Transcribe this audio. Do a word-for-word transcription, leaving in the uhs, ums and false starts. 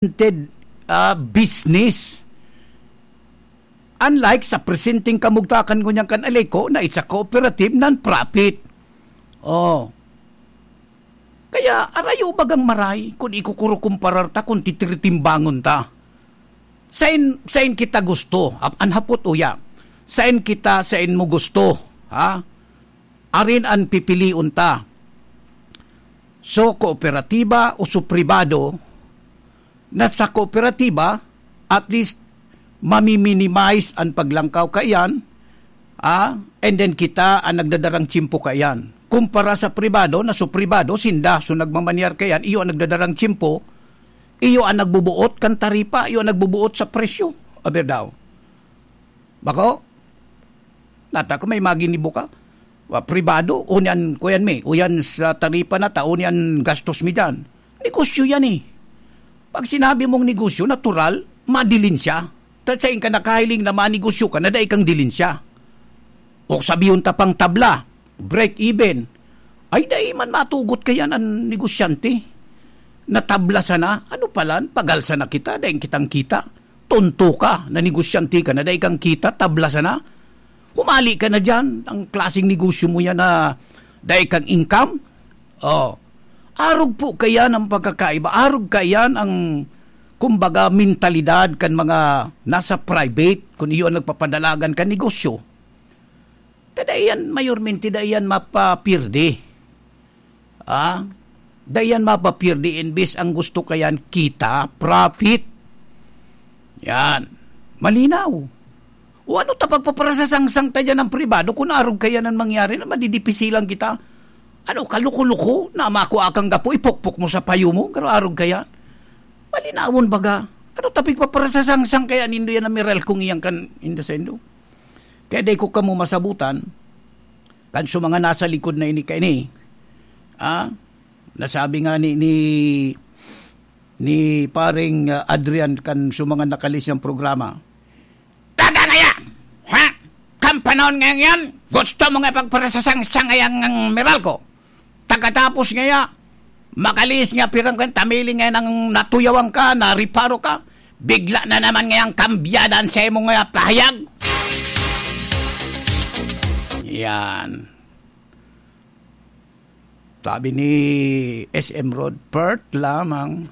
oriented, ah, business. Unlike sa presenteng kamugtakan ngunyan kan Aleco na it's a cooperative non-profit. Oh. Kaya arayo bagang maray kun ikukurukumparar ta, kun titiritimbangon ta. Sain, sain kita gusto? Ap-, an hapot uya. Sain kita, sain mo gusto? Ha? Arin an pipilion ta. So, kooperatiba o so pribado, na sa kooperatiba, at least, mami-minimize an paglangkaw kaiyan, ah, and then kita an nagdadarang tiyempo kaiyan. Kumpara sa pribado, na so pribado, sinda, so nagmamanyar kaiyan, iyo an nagdadarang tiyempo, iyo an nagbubuot kan taripa, iyo an nagbubuot sa presyo. Aber daw. Bako? Nata ko may maginibo ka. Wa, pribado, o niyan, kuyan mi, o yan sa taripa na ta, o niyan gastos mi diyan. Negosyo yan eh. Pag sinabi mong negosyo, natural, madilin siya. Ta sain ka nakahiling na manegosyo ka na dai kang dilin siya. O sabihon ta pang tabla, break even. Ay, dai man matugot kaiyan an negosyante. Natabla sana, ano palan, pagal sana kita, dai kitang kita. Tonto ka, na negosyante ka na, dai kang kita, tabla sana. Humali ka na diyan, ang klaseng negosyo mo yan na dai kang income. Oh. Arog po kaiyan ang pagkakaiba, arog kaiyan ang, kumbaga, mentalidad kan mga nasa private, kun iyo an nagpapadalagan kan negosyo. Ta dai yan, mayormente, dai yan mapapirdi. Ah? Dai yan mapapirdi, imbis ang gusto kaiyan, kita, profit. Yan. Malinaw. O ano ta pagpaparasasangsang ta diyan ang pribado? Kun arog kaiyan an mangyari na madidipisilan kita. Ano, kaluko-luko na makua kang gapo, ipukpok mo sa payo mo, pero arog kaiyan. Malinawon baga. Ano ta pagpaparasasangsang kaiyan nindo yan na Meralco iyan kan inda saindo? Kaya dai ko kamo masabutan, kan sa mga nasa likod na ini kaini, ah, nasabi nga ni, ni, ni paring, ah, Adrian kan sa mga nakalis niyang programa, "Taga ngaya! Ha? Kan panahon ngayon yan, gusto mo nga pagparasasangsang ngayang Meralco? Pagkatapos ngaya, makalis nga pirang kan tamili nga nang natuyawan ka, nariparo ka, bigla na naman ngayang kambyada an sa imong nga pahayag." Yan. Sabi ni S M Rod, "Perth lamang."